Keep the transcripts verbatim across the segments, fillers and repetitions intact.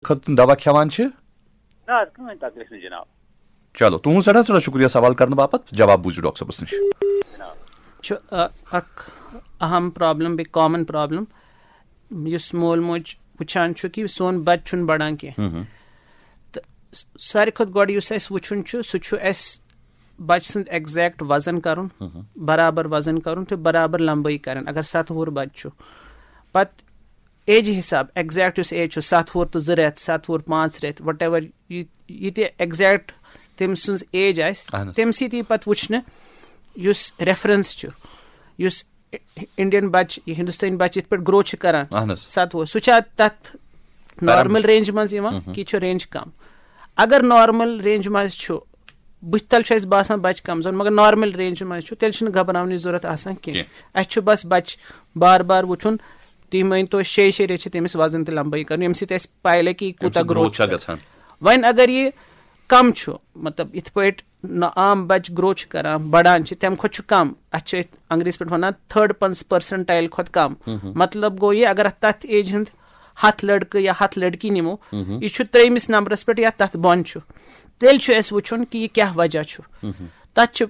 خٲطرٕ تِم دوا کھٮ۪وان چھِ؟ نہ حظ، کٕہٕنۍ تکلیٖف نہٕ جناب۔ چلو، تُہُنٛد سٮ۪ٹھاہ سٮ۪ٹھاہ شُکریہ سوال کرنہٕ باپتھ۔ جواب بوٗزِو ڈاکٹر صٲبَس نِش۔ چھُ، آ، اکھ اہم پرابلم، بیٚیہِ کامن پرابلم، یُس مول موج وٕچھان چھُ کہِ سون بچہٕ چھُنہٕ بڑان کینٛہہ۔ ہم ہم۔ تہٕ س-، ساروی کھۄتہٕ گۄڈٕ یُس اَسہِ وٕچھُن چھُ، سُہ چھُ اَسہِ بچہٕ سُنٛد exact وزن کرُن، ہم ہم۔ برابر وزن کرُن تہٕ برابر لمبٲیی کرٕنۍ۔ اگر ستھ وُہُر بچہٕ چھُ، پتہٕ ایجہِ حساب، exact یُس ایج چھُ، ستھ وُہُر تہٕ زٕ رٮ۪تھ، ستھ وُہُر پانٛژھ رٮ۪تھ، whatever، یہِ، یہِ تہِ exact تٔمۍ سٕنٛز ایج آسہِ، اہن حظ۔ تٔمۍ سۭتۍ یی پتہٕ وٕچھنہٕ یُس ریفرنس چھُ، یُس انڈین بچہِ، یہِ ہندوستٲنۍ بچہِ یِتھ پٲٹھۍ گرو چھِ کران، اہن حظ۔ ستھ وُہُر، سُہ چھا تتھ نارمل رینج منٛز یِوان، مہم۔ کہِ یہِ چھُ رینج کم؟ اگر نارمل رینج منٛز چھُ، بٕتھِ تل چھُ اَسہِ باسان بچہِ کمزور، مگر نارمل رینج منٛز چھُ، تیٚلہِ چھُنہٕ گھبراونٕچ ضروٗرت آسان کینٛہہ۔ کینٛہہ۔ اَسہِ چھُ بس بچہِ بار بار وٕچھُن، تُہۍ مٲنۍ تو شیٚیہِ شیٚیہِ رٮ۪تھ چھِ تٔمِس وزن تہِ لمبٲیی کرُن، ییٚمہِ سۭتۍ اَسہِ پاے لگہِ کہِ یہِ اَمہِ کوٗتاہ سۭتۍ گروتھ چھا گژھان۔ وۄنۍ اگر یہِ کم چھُ، مطلب، یِتھ پٲٹھۍ نہ عام بچہِ گرو چھِ کران، بڑان چھِ، تمہِ کھۄتہٕ چھُ کم۔ اتھ چھِ أسۍ انگریزی پٲٹھۍ ونان تھرڈ پرسنٹائل کھۄتہٕ کم۔ مہم۔ مطلب گوٚو یہِ، اگر اتھ تتھ ایج ہُنٛد ہتھ لڑکہٕ یا ہتھ لڑکی نِمو، مہم۔ یہِ چھُ ترٛیٚیمِس نمبرس پٮ۪ٹھ یا تتھ بۄن چھُ۔ تیٚلہِ چھُ اَسہِ وٕچھُن کہِ یہِ کیٛاہ وجہ چھُ۔ مہم۔ تتھ چھِ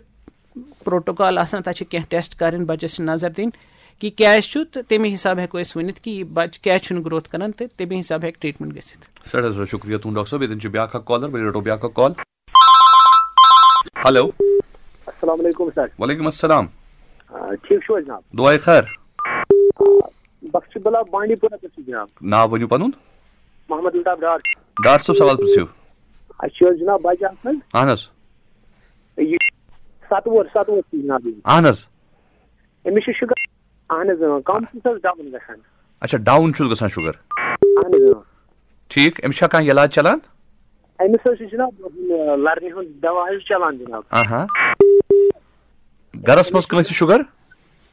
پروٹوکال آسان، تتھ چھِ کینٛہہ ٹیسٹ کرٕنۍ، بچس چھِ نظر دِنۍ کہِ کیٛازِ چھُ، تہٕ تمے حساب ہٮ۪کو أسۍ ؤنِتھ کہِ یہِ بچہِ کیٛازِ چھُنہٕ گروتھ کران، تہٕ تمے حساب ہٮ۪کہِ ٹریٹمنٹ گٔژھِتھ۔ سٮ۪ٹھاہ سٮ۪ٹھاہ شُکریہ تُہُنٛد ڈاکٹر صٲب۔ ییٚتٮ۪ن چھُ بیٛاکھ اکھ کالر، وۄنۍ رٹو بیٛاکھ اکھ کال۔ ہیلو۔ السلام علیکم سر۔ وعلیکم السلام۔ آ، ٹھیٖک چھِو حظ جناب؟ دُعاے خیر۔ آ، بخش بلا بانڈی پورہ پٮ۪ٹھ چھُس جناب۔ ناو ؤنِو پنُن۔ محمد الطاف ڈار۔ ڈاکٹر صٲب، سوال پرٛژھِو۔ اَسہِ چھُ حظ جناب بچہٕ اکھ حظ۔ اہن حظ۔ یہِ ستھ وُہُر، ستھ وُہُر چھُ جناب یہِ۔ اہن حظ۔ أمِس چھُ شُگر، اہن حظ، اۭں، کم چھُس حظ ڈاوُن گژھان۔ اچھا، ڈاوُن چھُس گژھان شُگر۔ اہن حظ، اۭں۔ ٹھیٖک، أمِس چھا کانٛہہ علاج چلان؟ أمِس حظ چھُ جناب، ہُم، لرنہِ ہُنٛد دوا حظ چلان جناب۔ آہا۔ گرس منٛز کٲنٛسہِ شُگر؟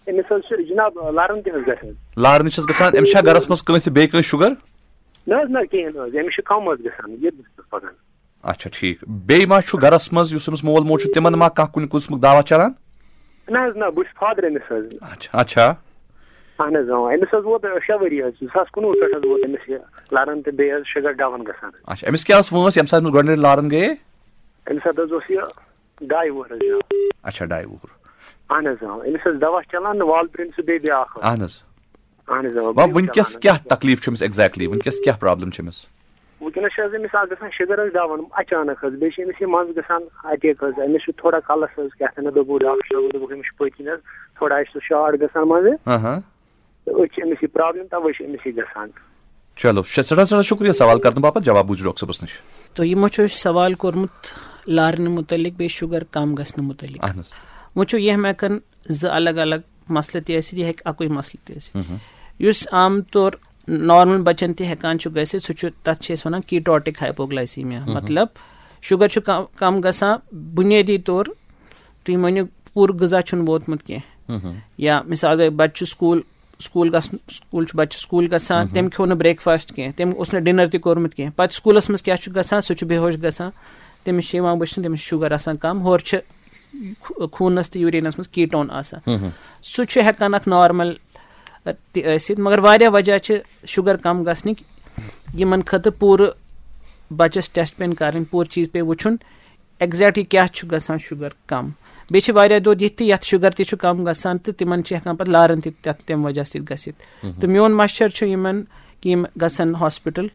أمِس حظ چھُ جناب لرن تہِ حظ گژھان۔ لارنہِ چھَس گژھان، أمِس چھا گرس منٛز کٲنٛسہِ بیٚیہِ کٲنٛسہِ شُگر؟ نہ حظ، نہ، کِہیٖنۍ نہٕ حظ، أمِس چھُ کم حظ گژھان، یہِ پکان۔ اچھا، ٹھیٖک۔ بیٚیہِ ما چھُ گرس منٛز، یُس أمِس مول موج چھُ، تِمن ما کانٛہہ کُنہِ قٕسمُک دوا چلان؟ نہ حظ، نہ، بہٕ چھُس فادر أمِس حظ۔ اچھا، اچھا۔ اہن حظ، اۭں، أمِس حظ ووت شےٚ ؤری حظ، زٕ ساس کُنوُہ پٮ۪ٹھ حظ ووت أمِس یہِ لرن تہٕ بیٚیہِ حظ شُگر ڈاوُن گژھان۔ اچھا، أمِس کیٛاہ ٲس وٲنٛس ییٚمہِ ساتہٕ أمِس گۄڈٕنِچ لرن گٔیے؟ أمِس حظ اوس یہِ ڈاے وُہُر حظ جناب۔ اچھا، ڈاے وُہُر۔ اہن حظ، اۭں، أمِس ٲس دوا چلان، والپرین سُہ بیٚیہِ بیٛاکھ اکھ۔ اہن حظ۔ اہن حظ، اۭں، وۄنۍ بیٚیہِ وٕنکیٚس چلان کیٛاہ حظ۔ تکلیٖف چھُ أمِس exactly؟ وٕنکیٚس کیٛاہ problem چھِ أمِس؟ وٕنکیٚنَس چھِ حظ أمِس اَکھ گژھان شُگر حظ ڈاوُن اچانک حظ، بیٚیہِ چھِ أمِس یہِ منٛزٕ گژھان اَٹیک حظ، أمِس چھُ تھوڑا کَلَس حظ کیٛاہ تام دوٚپُکھ ڈاکٹر صٲبَن، دوٚپُکھ أمِس چھُ پٔتۍ کِنۍ حظ تھوڑا اَسہِ سُہ شاٹ گژھان منٛزٕ۔ ہاں ہاں۔ تہٕ أتھۍ چھِ أمِس یہِ problem، تَوَے چھِ أمِس یہِ گژھان۔ چلو، شےٚ-، سٮ۪ٹھاہ سٮ۪ٹھاہ شُکریہ سوال کرنہٕ باپتھ، جواب بوٗزِو ڈاکٹر صٲبَس نِش۔ تہٕ یِمو چھُ اَسہِ سوال کوٚرمُت لارنہٕ مُتعلِق بیٚیہِ شُگر کَم گژھنہٕ مُتعلِق۔ اہن حظ۔ وۄنۍ چھُ یہِ ہٮ۪کان زٕ الگ الگ مسلہٕ تہِ ٲسِتھ، یہِ ہیٚکہِ اَکُے مسلہٕ تہِ ٲسِتھ۔ مہم۔ یُس عام طور نارمل بچن تہِ ہٮ۪کان چھُ گٔژھِتھ، سُہ چھُ، تَتھ چھِ أسۍ وَنان ketotic hypoglycemia۔ مہم۔ مطلب، شُگر چھُ کم، کم گژھان بُنیٲدی طور، تُہۍ مٲنِو، پوٗرٕ غذا چھُنہٕ ووتمُت کینٛہہ۔ مہم۔ یا مثال گٔے، بچہٕ چھُ سکوٗل، سکوٗل گژھُن، سکوٗل چھُ، بچہٕ چھُ سکوٗل گژھان، مہم۔ تٔمۍ کھیوٚو نہٕ breakfast کینٛہہ، تٔمۍ اوس نہٕ dinner تہِ کوٚرمُت کینٛہہ۔ پتہٕ سکوٗلس منٛز کیٛاہ چھُ گژھان؟ سُہ چھُ بے ہوش گژھان، تٔمِس چھِ یِوان وٕچھنہٕ، تٔمِس چھُ شُگر آسان کم، ہورٕ چھِ خو-، خوٗنس تہٕ یوٗریٖنس منٛز ketone آسان۔ ہم ہم۔ سُہ چھُ ہٮ۪کان اکھ نارمل، ٲ، تہِ ٲسِتھ، مگر واریاہ وجہ چھِ شُگر کم گژھنٕکۍ، یِمن خٲطرٕ پوٗرٕ بچس test پیٚن کرٕنۍ، پوٗرٕ چیٖز پیٚیہِ وٕچھُن exact یہِ کیٛاہ چھُ گژھان شُگر کم۔ بیٚیہِ چھِ واریاہ دود یِتھ تہِ یتھ شُگر تہِ چھُ کم گژھان تہٕ تِمن چھِ ہٮ۪کان پتہٕ لارن تہِ تتھ تمہِ وجہ سۭتۍ گٔژھِتھ۔ ہم ہم۔ تہٕ میون مشورٕ چھُ یِمن کہِ یِم گژھن ہاسپٹل،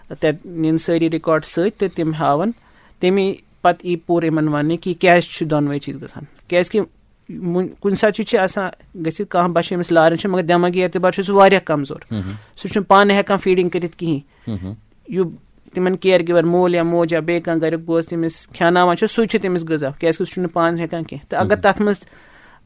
تتہِ نِن سٲری record سۭتۍ تہٕ تِم ہاون، تمی پتہٕ یی پوٗرٕ یِمن وننہٕ کہِ یہِ کیٛازِ چھُ دۄنوَے چیٖز گژھان۔ کیٛازِ کہِ وُنہِ کُنہِ ساتہٕ چھُ، چھُ آسان گٔژھِتھ کانٛہہ بچہٕ ییٚمِس لارن چھِ، مگر دٮ۪مٲغی اعتبار چھُ سُہ واریاہ کمزور۔ ہم ہم۔ سُہ چھُنہٕ پانہٕ ہٮ۪کان feeding کٔرِتھ کِہیٖنۍ۔ ہم ہم۔ یُس تِمن care giver مول یا موج یا بیٚیہِ کانٛہہ گرِیُک بوے تٔمِس کھیٛاناوان چھُ، سُے چھُ تٔمِس غذا، کیٛازِ کہِ سُہ چھُنہٕ پانہٕ ہٮ۪کان کینٛہہ۔ تہٕ اگر ہم۔ تتھ منٛز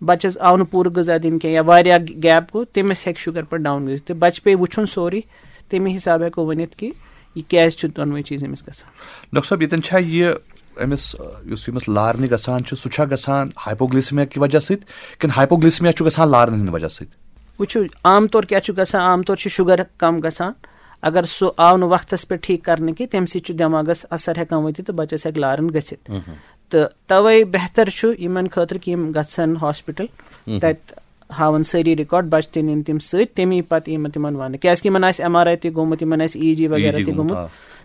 بچس آو نہٕ پوٗرٕ غذا دِنہٕ کینٛہہ یا واریاہ gap گوٚو، تٔمِس ہٮ۪کہِ شُگر پتہٕ down گٔژھِتھ۔ تہٕ بچہٕ پیٚیہِ وُچھُن سورُے، تَمے حساب ہٮ۪کو ؤنِتھ کہِ یہِ کیٛازِ چھُ دۄنوَے چیٖز أمِس گژھان۔ ڈاکٹر صٲب، ییٚتٮ۪ن چھا یہِ أمِس، یُس أمِس لارنہِ گژھان چھُ، سُہ چھا گژھان hypoglycemia کہِ وجہ سۭتۍ کِنہٕ hypoglycemia چھُ گژھان لارنہِ ہٕنٛدِ وجہ سۭتۍ؟ وٕچھِو، عام طور کیٛاہ چھُ گژھان؟ عام طور چھُ شُگر کم گژھان۔ اگر سُہ آو نہٕ وقتس پٮ۪ٹھ ٹھیٖک کرنہٕ کینٛہہ، تَمہِ سۭتۍ چھُ دٮ۪ماغس اثر ہٮ۪کان وٲتِتھ تہٕ بچس ہٮ۪کہِ لارن گٔژھِتھ۔ مہم۔ تہٕ توے بہتر چھُ یِمن خٲطرٕ کہِ یِم گژھن ہاسپٹل، مہم۔ تتہِ ہاوان سٲری record، بچہٕ تہِ نِن تِم سۭتۍ، تَمی پتہٕ یِمن تِمن وننہٕ، کیٛازِ کہِ یِمن آسہِ M R I تہِ گوٚمُت، یِمن آسہِ E G وغیرہ E G تہِ گوٚمُت، گوٚمُت۔ آ۔